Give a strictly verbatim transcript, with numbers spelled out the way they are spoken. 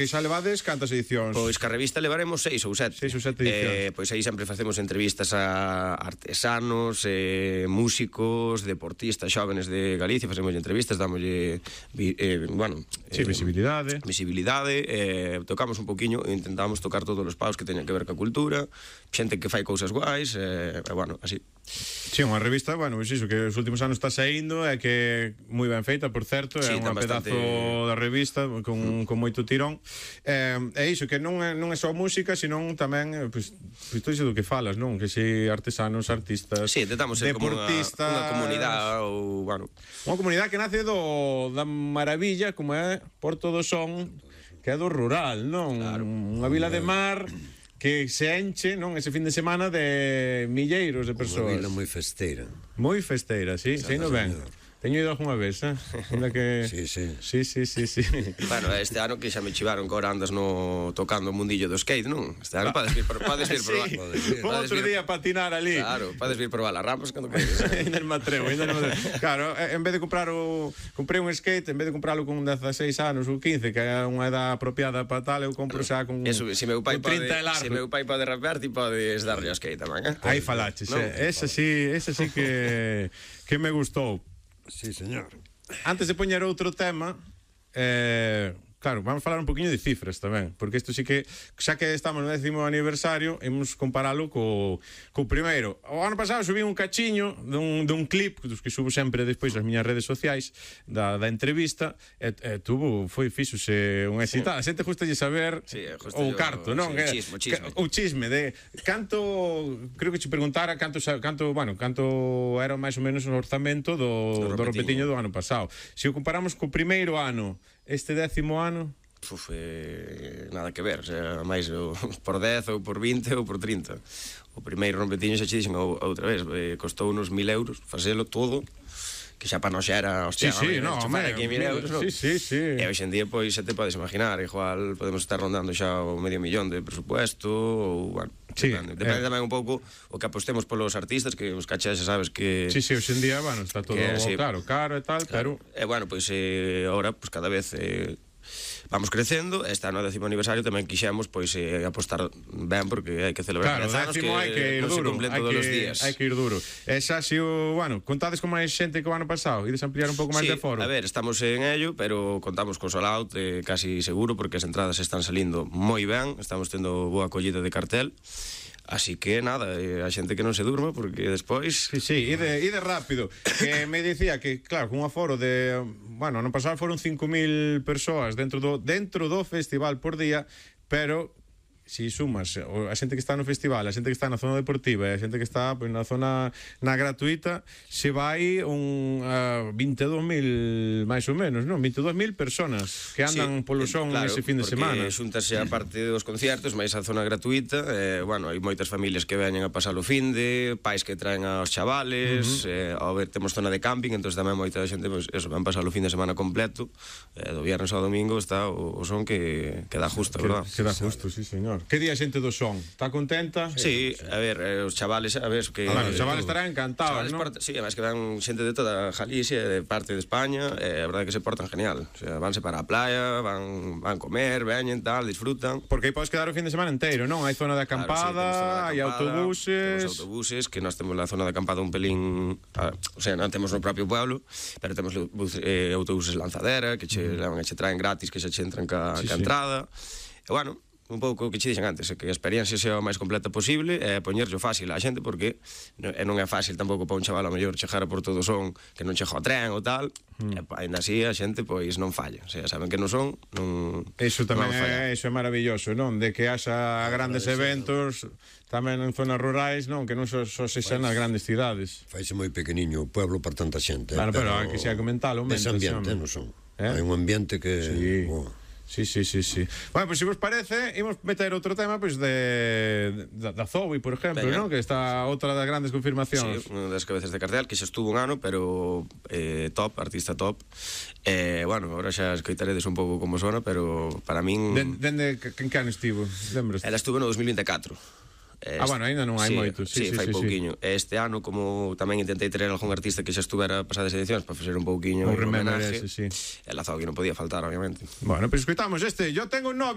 E xa levades cantas edicións? Pois que a revista levaremos seis ou sete. Seis ou sete edicións. Eh, pois aí sempre facemos entrevistas a artesanos, eh, músicos, deportistas xóvenes de Galicia, facemos entrevistas, dámoslle eh, bueno, sí, eh, visibilidade. Visibilidade, eh, tocamos un poquiño, intentamos tocar todos os paus que teñan que ver ca cultura, xente que fai cousas guais, eh, e bueno, así. Sí, unha revista, bueno, pois iso, que os últimos anos está saindo e que moi ben feita, por certo, é sí, unha bastante... pedazo da revista con, con moito tirón. É eh, iso, que non é, non é só música, senón tamén, pois, pois todo iso do que falas, non? Que si artesanos, artistas, sí, intentamos ser deportistas, como unha, unha comunidade ou, bueno... Unha comunidade que nace do, da maravilla, como é Porto do Son, que é do rural, non? Claro. Unha vila de mar que se enche, non, ese fin de semana de milleiros de persoas. Unha vila moi festeira. Moi festeira, sí, sei no ben. Teño ido algunha vez, eh? Onde que... Sí, sí. Sí, sí, sí, sí. Bueno, este ano que xa me chivaron que ahora andas no tocando o mundillo do skate, non? Este ano podes vir, por, podes vir probar. Sí, vou outro día a patinar ali. Claro, podes vir probar as rampas cando queres. Ainda me atrevo, ainda me atrevo. Claro, en vez de comprar o... Comprei un skate, en vez de comprarlo con dezaseis anos ou quince, que é unha edad apropiada para tal, eu compro xa con, eso, se meu pai con trinta pode, e largo. Se meu pai pode rapear, ti podes darlle ao skate tamén, eh? Aí falaches, no? eh? Esa sí, esa sí que, que me gustou. Sí, señor. Antes de poñer outro tema, eh, claro, vamos falar un poquinho de cifras tamén, porque isto sí que, xa que estamos no décimo aniversario, imos comparalo co, co primeiro. O ano pasado subí un cachiño dun, dun clip, dos que subo sempre despois nas miñas redes sociais, da, da entrevista, e, e tuvo, foi fixose un éxito. A xente justa de saber sí, o carto, non? Sí, chisme, chisme. O chisme de canto, creo que che preguntara canto, canto, bueno, canto era máis ou menos o orzamento do, do repetiño do ano pasado. Se o comparamos co primeiro ano, este décimo ano, Uf, eh, nada que ver, o sea, máis o, por dez ou por vinte ou por trinta. O primeiro rompetiño xa che dixen outra vez, eh, costou uns mil euros facelo todo, que xa para non xa era, hostia, sí, sí, no, chufar aquí mil euros, no? Sí, sí, sí. E hoxe en día, pois, xa te podes imaginar, igual podemos estar rondando xa o medio millón de presupuesto, ou, bueno, sí, depende, depende eh. tamén un pouco o que apostemos polos artistas, que os cachés xa sabes que... Sí, sí, hoxe en día, bueno, está todo que, sí, claro, caro e tal, claro. pero... E, bueno, pois, eh, ahora, pois, cada vez... Eh, vamos crecendo, este ano décimo aniversario tamén quixemos pois eh, apostar ben porque hai que celebrar claro, dez anos que hai que ir non se duro, cumplen hai todos que, os días. hai que ir duro. E xa si o, bueno, contades con máis xente que o ano pasado, ides ampliar un pouco máis sí, de foro. A ver, estamos en ello, pero contamos con sold out eh, casi seguro porque as entradas están salindo moi ben, estamos tendo boa acollida de cartel. Así que nada, eh, a xente que non se durma porque despois... Sí, sí, ide, ide rápido. Que me dicía que, claro, con un aforo de... Bueno, no pasado foron cinco mil persoas dentro do, dentro do festival por día, pero... Si sumas a xente que está no festival, a xente que está na zona deportiva e a xente que está pues, na zona na gratuita, se vai un uh, vinte e dous mil máis ou menos, non? vinte e dous mil personas que andan sí, polo son claro, ese fin de semana. Porque xúntase a parte dos conciertos, máis a zona gratuita, eh, bueno, hai moitas familias que veñen a pasar o fin de, pais que traen aos chavales, uh -huh. eh, ao ver, temos zona de camping, entón tamén moita xente, pues, eso, van pasar o fin de semana completo, eh, do viernes ao domingo está o, o son que, que dá justo, que, verdad? Que dá justo, sí, señor. Que día a xente do son? Está contenta? Sí, a ver, eh, os chavales, a ver, que... Ah, bueno, os chavales estarán encantados, ¿no? Sí, además que van xente de toda Galicia, de parte de España, eh, a verdade que se portan genial. O sea, vanse para a playa, van, van comer, veñen, tal, disfrutan. Porque aí podes quedar o fin de semana inteiro, non? Hai zona de acampada, hai claro, sí, autobuses... Temos autobuses, que nós temos a zona de acampada un pelín... A, o sea, non temos no propio pueblo, pero temos eh, autobuses lanzadera, que che levan e che traen gratis, que xa che entran ca, sí, ca sí. entrada. E, bueno... un pouco o que che dixen antes, que a experiencia sea o máis completa posible e poñerlle fácil á xente porque e non é fácil tampouco para un chaval ao mellor chegar a Porto do Son que non chega ao tren ou tal, mm. e ainda así a xente pois non falla, o sea, saben que non son, non Eso tamén non é, eso é maravilloso, non? De que haxa grandes eventos tamén en zonas rurais, non? Que non só, só se xan nas grandes cidades. Faise moi pequeniño o pueblo para tanta xente. Claro, pero, pero hai que xa comentalo, ese ambiente, non son. Eh? Hai un ambiente que... Sí. Oh. Sí, sí, sí, sí. Bueno, pois pues, se vos parece, imos meter outro tema pois pues, de da, da Zoe, por exemplo, ¿no? Que está outra das grandes confirmacións. Sí, unha das cabezas de cartel que xa estuvo un ano, pero eh, top, artista top. Eh, bueno, agora xa escoitaredes un pouco como sona, pero para min... Den, dende que, que ano estivo? Lembras? Ela estuvo no dos mil vinte e catro. Este, ah, bueno, ainda non hai sí, moito. Sí, sí, sí, fai sí, pouquiño. Sí. Este ano, como tamén intentei traer algún artista que xa estuvera pasadas edicións para facer un pouquiño un homenaje, ese, sí. El Azogue non podía faltar, obviamente. Bueno, pois pues escoitamos este. Yo tengo un novio.